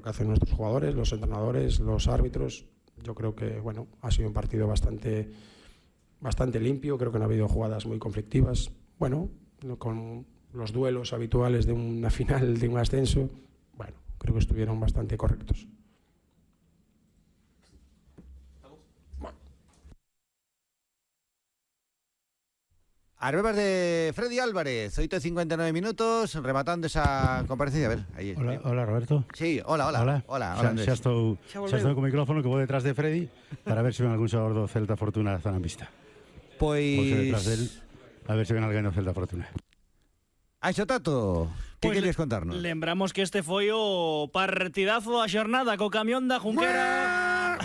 que hacen nuestros jugadores, los entrenadores, los árbitros. Yo creo que ha sido un partido bastante limpio, creo que no ha habido jugadas muy conflictivas. Con los duelos habituales de una final, de un ascenso, creo que estuvieron bastante correctos. Arbebas de Freddy Álvarez, 8:59 minutos, rematando esa comparecencia. A ver, ahí. Hola, Roberto. Sí, hola, Andrés. Xa estou co micrófono que vou detrás de Freddy para ver se ven algún xogador do Celta Fortuna zona en vista. Vou ser detrás del, a ver se ven alguén do Celta Fortuna. Aixo, Tato, que queres contarnos? Lembramos que este foi o partidazo da xornada co camión da Junquera.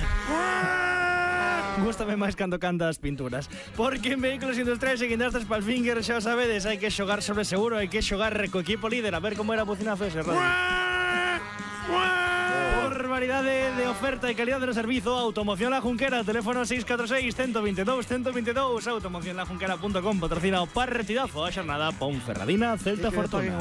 Gústame máis cando canta as pinturas. Porque en Vehículos Industriales e Guindastres Palfinger, xa o sabedes, hai que xogar sobre seguro, hai que xogar co equipo líder. A ver como era a bocinazo ese radio. Por variedade de oferta e calidad de servizo, Automoción La Junquera, teléfono 646-122-122, automocionlajunquera.com, patrocina o partidazo a xornada Ponferradina, Celta Fortuna.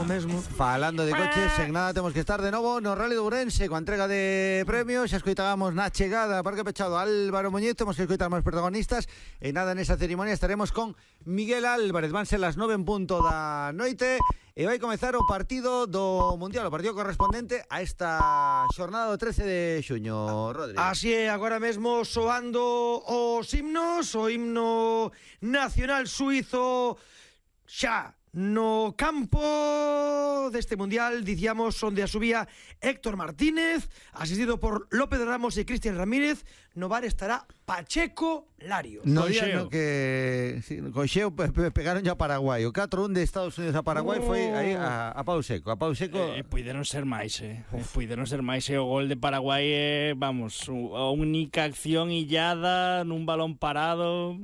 Falando de coches, en nada temos que estar de novo no Rally de Ourense coa entrega de premios. Xa escoitábamos na chegada Parque Pechado Álvaro Muñiz, temos que escoitar máis protagonistas. E nada, nesa ceremonia estaremos con Miguel Álvarez. Van ser las 9 en punto da noite e vai comezar o partido do Mundial, o partido correspondente a esta xornada do 13 de xuño, Rodri. Así é, agora mesmo soando os himnos, o himno nacional suizo xa no campo deste Mundial, dicíamos, onde a subía Héctor Martínez, asistido por López Ramos e Cristian Ramírez. No bar estará Pacheco Larios. No día no que con Xeo pegaron ya a Paraguai. O 4-1 de Estados Unidos a Paraguai foi aí a pau seco. Puideron ser máis, Puideron ser máis. O gol de Paraguai vamos, a única acción illada nun balón parado.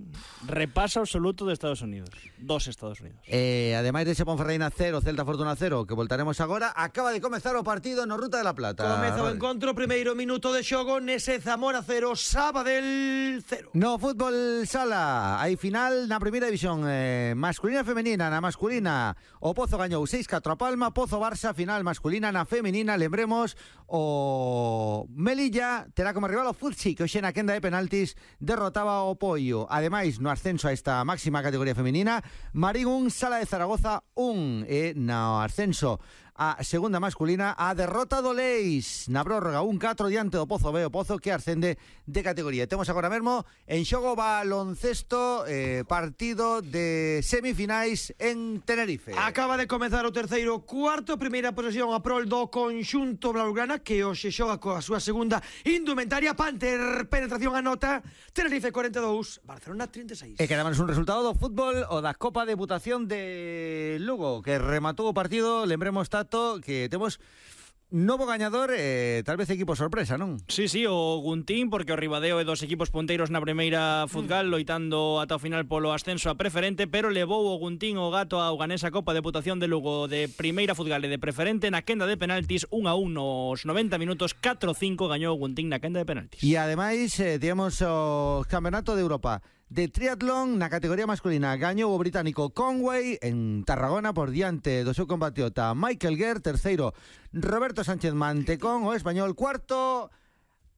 Repaso absoluto de Estados Unidos. Dos Estados Unidos. Ademais de ese Ponferradina 0, Celta Fortuna 0, que voltaremos agora, acaba de comezar o partido no Ruta de la Plata. Comeza o encontro, primeiro minuto de xogo nese Zamora 0, Sabadell 0. No fútbol sala, hai final na primeira división masculina e femenina. Na masculina, o Pozo gañou 6-4 a Palma, Pozo Barça, final masculina. Na femenina, lembremos, o Melilla terá como rival o Futsi, que hoxe na quenda de penaltis derrotaba o Poio. Ademais, no ascenso a esta máxima categoría femenina, Marín 1, Sala de Zaragoza 1. E no ascenso a segunda masculina, a derrota do Leis na prórroga 1-4 diante do Pozo B, o Pozo que ascende de categoría. Temos agora mesmo en xogo baloncesto, partido de semifinais en Tenerife. Acaba de comezar o terceiro cuarto, primeira posesión a prol do conxunto blaugrana, que hoxe xoga coa súa segunda indumentaria. Panther, penetración a nota, Tenerife 42, Barcelona 36. E quedamos un resultado do fútbol o da Copa Deputación de Lugo, que rematou o partido. Lembremos, Tato, que temos novo gañador, tal vez equipo sorpresa, non? Sí, o Guntín, porque o Ribadeo é dos equipos punteiros na primeira futgal, loitando ata o final polo ascenso a preferente, pero levou o Guntín o gato ao ganesa Copa Deputación de Lugo de primeira futgal e de preferente na quenda de penaltis, 1-1 nos 90 minutos, 4-5 gañou o Guntín na quenda de penaltis. E ademais, temos o Campeonato de Europa de triatlón na categoría masculina. Gañou o británico Conway en Tarragona por diante do seu compatriota Michael Guerre. Terceiro, Roberto Sánchez Mantecón, o español. Cuarto,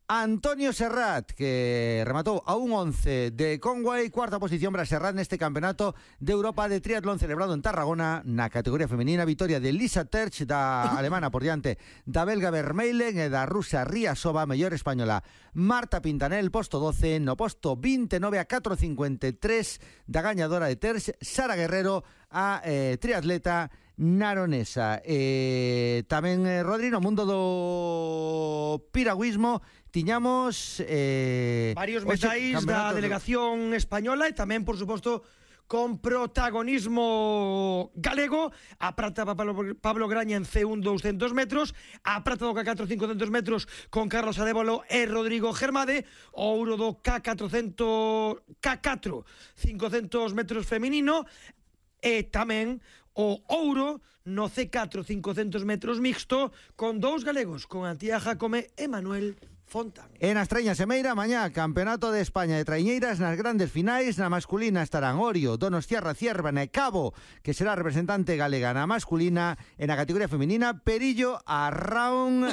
Antonio Serrat, que rematou a un 11 de Conway. Cuarta posición para Serrat neste campeonato de Europa de triatlón celebrado en Tarragona na categoría femenina. Vitoria de Lisa Terch, da alemana, por diante da belga Vermeulen e da rusa Riasova. Mellor española Marta Pintanel, posto 12. No posto 29 a 4.53 da gañadora de Terch, Sara Guerrero, a triatleta naronesa. Tamén, Rodri, no mundo do piragüismo tiñamos varios metais da delegación española e tamén, por suposto, con protagonismo galego. A prata Pablo Graña en C1 200 metros, a prata do K4 500 metros con Carlos Adébolo e Rodrigo Germade, o ouro do K4 500 metros feminino, e tamén o ouro no C4 500 metros mixto con dous galegos, con Antía Jacome e Manuel Fontán. En Astreña Semeira, mañá, Campeonato de España de traiñeiras nas grandes finais. Na masculina estarán Orio, Donostiarra, Ciervana e Cabo, que será representante galega na masculina. En a categoría femenina, Perillo, Arraón,